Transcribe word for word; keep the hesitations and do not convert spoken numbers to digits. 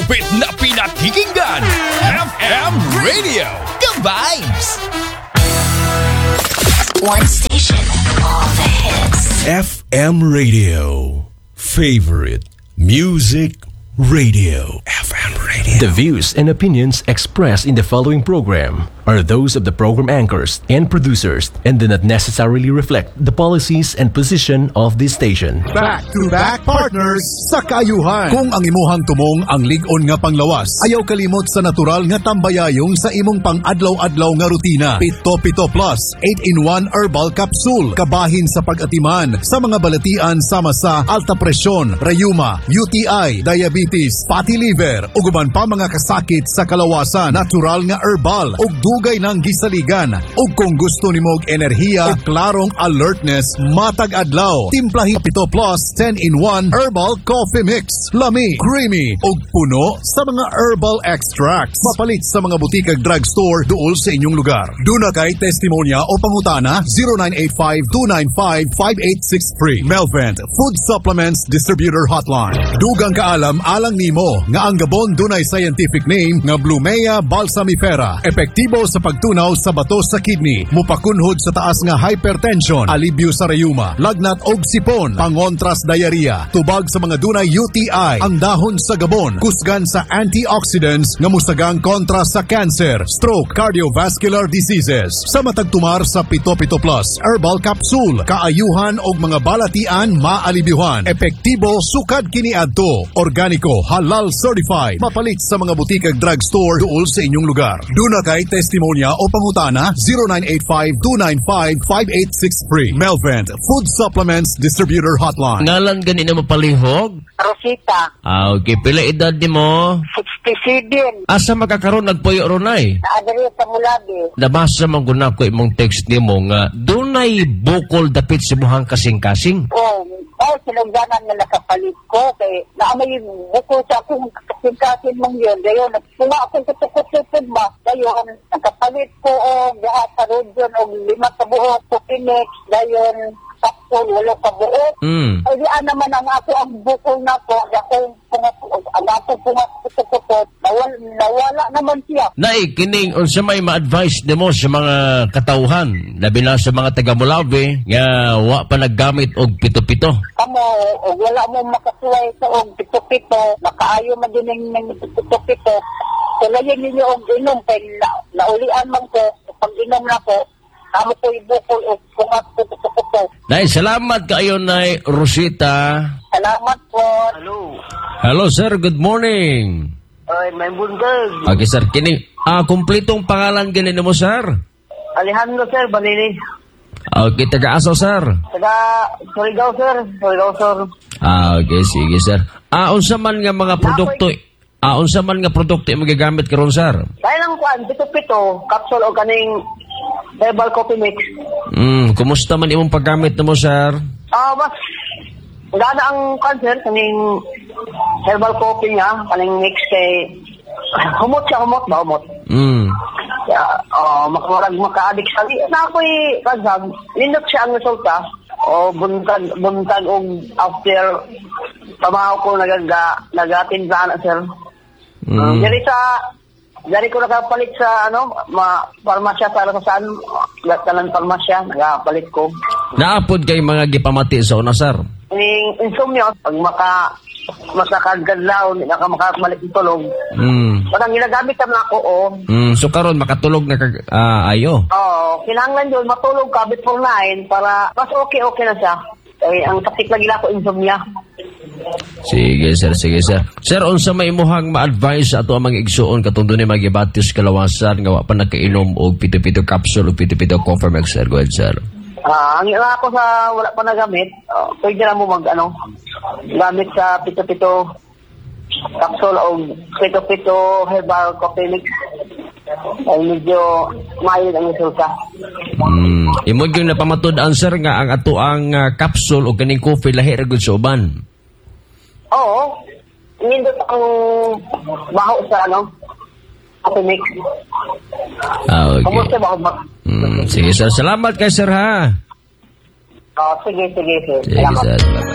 Pinakalupit na pinakikinggan. F M Radio. The Vibes. One station, all the hits. F M Radio. Favorite Music Radio. F M Radio. The views and opinions expressed in the following program are those of the program anchors and producers and do not necessarily reflect the policies and position of this station. Back-to-back partners sa kaayuhan. Kung ang imuhang tumong ang lig-on nga panglawas, ayaw kalimot sa natural nga tambayayong sa imong pang-adlaw-adlaw nga rutina. Pito Pito Plus eight in one Herbal Capsule. Kabahin sa pag-atiman sa mga balatian sama sa alta presyon, rayuma, U T I, diabetes, fatty liver, ug uban pa mga kasakit sa kalawasan. Natural nga herbal ug dugay nang gisaligan. Ug kung gusto nimo og enerhiya ug klarong alertness matag adlaw, timplahi Pito Plus ten in one Herbal Coffee Mix. Lami, creamy ug puno sa mga herbal extracts. Mapalit sa mga butik ug drugstore duol sa inyong lugar. Duna kay testimonya o pangutana, zero nine eight five, two nine five, five eight six three. Melvent Food Supplements Distributor Hotline. Dugang kaalam alang nimo nga ang gabon dunay scientific name nga Blumea balsamifera. Epektibo sa pagtunaw sa bato sa kidney, mupakunhod sa taas nga hypertension, alibyo sa rayuma, lagnat og sipon, pangontras diarrhea, tubag sa mga dunay U T I. Ang dahon sa gabon kusgan sa antioxidants nga musagang kontra sa cancer, stroke, cardiovascular diseases. Sa matag tumar sa Pito Pito Plus Herbal Capsule, kaayuhan og mga balatian maalibyuhan. Epektibo sukad kiniadto. Organiko, halal certified. Mapalit sa mga butik ug drugstore duol sa inyong lugar. Duna kay testimonya o pangutana, zero nine eight five, two nine five, five eight six three. Melvent Food Supplements Distributor Hotline. Ngalan gani na mapalihog? Rosita. Ah, okay. Pila edad nimo? sixty-seven. Asa makakaroon nagpuyo ronay? Naa diri sa Molave. Nabasa man gud nako imong text nimo nga dunay bukol dapit sa imuhang kasing-kasing. Oh, oh, sinugdanan nga nakapalit ko kay naa may bukol sa akong kasing-kasing mong yun. Dayon, nagpunga akong kuto-kuto ba? Dayon, nakapalit ko og duha sa Rodjon og lima ka buok coffee mix. Dayon, capsule, walo ka buok. Mm. Ay, di naman ang ako ang bukol nako, akong punga, ang ako punga kuto-kuto, nawala, nawala naman siya. Nay, kining unsa may ma-advise nimo sa mga katawhan, labi na sa mga taga Molave nga wa pa naggamit og pito-pito? Kamo og wala mo makasuway sa og pito-pito, makaayo man din ning pito-pito, sulayin ninyo og inom kay na, naulian man ko pag inom nako, amo ko ibukol og pungat kuto-kuto. Nay, salamat kaayo, Nay Rosita. Salamat po. Hello. Hello sir, good morning. Ay, may buntag. Okay sir, kini ah kumpletong pangalan gani nimo, sir? Alejandro, sir, Balili. Okay, taga asa, sir? Taga Surigao, sir. Surigao, sir. Ah, okay, sige sir. Ah, unsa man nga mga produkto Ah, unsa man nga produkto imong gigamit karon, sir? Kaya lang kuan, pito-pito, capsule o kaning herbal coffee mix. Mm, kumusta man imong paggamit nimo, sir? Ah, mas gana ang cancer kaning herbal coffee niya, kaning mix kay humot siya, humot ba, humot. Mm. Kaya, oh, makamarag maka-addict sa na ako'y kansab, nindot siya ang resulta. O buntag, buntag og after trabaho ko nagaga, nagatinda na, sir. Mm. Um, diri sa dari ko nakapalit sa ano, ma parmasya sa sa saan, talan parmasya, nakapalit ko. Naapod kay mga gipamati sa una, sir? Ning insomnio, pag maka masakagkadlaw, hindi na ka makabalik ng tulog. Mm. Parang ginagamit naman ako, oh. Mm, so karon makatulog na kag ah, ayo. Oo, kinahanglan yun, matulog ka before nine para mas okay-okay na siya. Eh, ang sakit lagi ako, insomnia. Sige sir, sige sir. Sir, unsa may imuhang ma-advise sa ato ang mga igsuon katong dunay mga sa kalawasan nga wa pa nakainom og pito-pito capsule o pito-pito coffee mix, sir? Go ahead, sir. Ah, ang ila ako sa wala pa nagamit, oh, pwede na mo mag ano, gamit sa pito-pito capsule o pito-pito herbal coffee mix. Ay medyo mild ang resulta. Mm. Imo gyud napamatud-an, sir, nga ang ato ang ah, capsule o kaning coffee lahi ra gud sa uban? Oo, nindot ang baho sa ano, coffee mix. Ah, okay. Kumusta ba ako? Mm, sige sir, salamat kay sir ha. Oh, sige, sige, sige. Sige Salamat. Sir. Salamat.